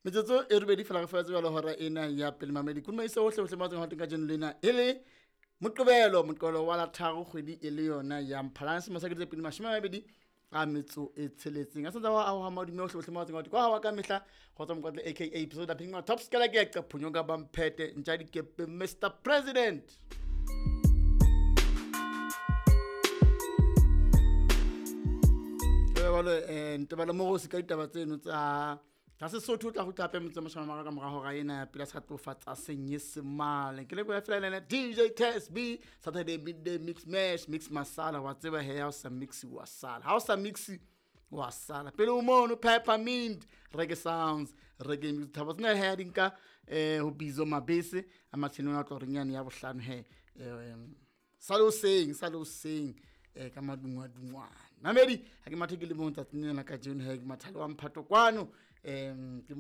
Metsotso e robedi fela re fela jwalo hora ena ya pele mamedi. Kudumaise hohle hohle mo tseng ka jeno lena e le Moqebelo, Moqebelo wa la tharo kgwedi e le yona ya Mphalane selemo sa 2026. A santse a ho madume hohle hohle mo tseng kwa wa ka mehla kgotsa Mokotle aka episode la Pink Top Skela ke ya phonyo ka bamphete ntja dikepe Mr President. Jwale ntebala mo go se ka ditaba tseno tsa tsa Sesotho o tla go tlape motse mashome a mararo ka mora hora ena ya pele a sa tlofatsa Senyesemane. Ke leboha fela lena DJ Test B Saturday midday mix mash mix masala wa tseba he ha o sa mix wa sala. Ha o sa mix wa sala. Pele o mono peppermint reggae sounds reggae music thabo tsena he di nka ho bizo mabese a matshelo a tlo reng yane ya bohlano he sale o seng ka madungwa dungwana. Mamedi ha ke mathe ke le mong tsatsing lena ka jeno he ke mathalo wa mphato kwano ke